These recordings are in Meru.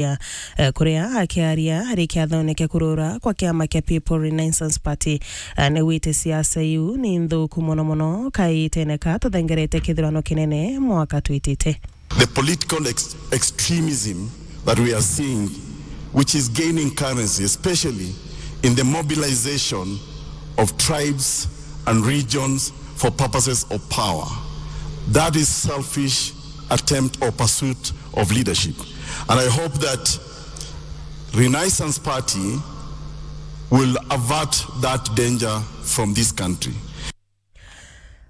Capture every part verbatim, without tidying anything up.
ya, eh, kuria akiaria ari kiathone kia kurura kwa kiama kia People Renaissance Party, eh, ni wite siasa iu ni nthuku mono mono kaitene ka tuthengerete kithurano kinene mwaka twitite. The political ex-, extremism that we are seeing, which is gaining currency, especially in the mobilization of tribes and regions for purposes of power. That is selfish attempt or pursuit of leadership. And I hope that Renaissance Party will avert that danger from this country.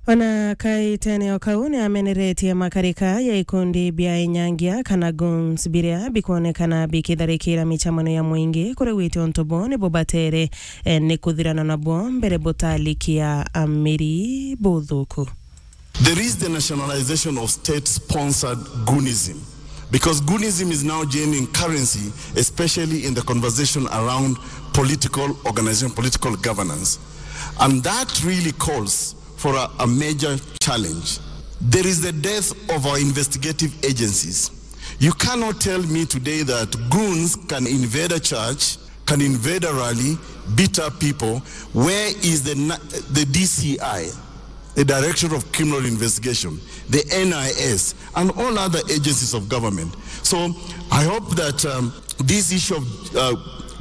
Ona kaitene o kau ni ameneretie makarika ya ikundi bia inyangia kana goons biria bikwonekana bikitharikira michamano ya mwingi kuri wite untu bo ni bubatere, eh, ni kuthirana nabo mbere butalikia amiri buthuku. There is the nationalization of state-sponsored goonism, because goonism is now gaining currency, especially in the conversation around political organization, political governance. And that really calls for a, a major challenge. There is the death of our investigative agencies. You cannot tell me today that goons can invade a church, can invade a rally, beat up people. Where is the na-, the D C I, the Director of Criminal Investigation, the N I S, and all other agencies of government? So I hope that, um, this issue of, uh,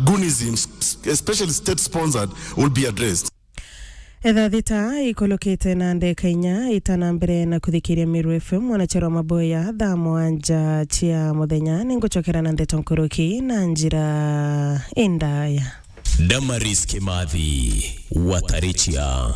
goonism, s-, especially state-sponsored, will be addressed. Etha thita ikulukite na ndeka inya itana mbere na kuthikiria Meru F M, mwanachero wa maboya thaa mwanja cia muthenya, ningucokera na ndeto nkuruki na njira indaya. Damaris Kimathi, Watarichia.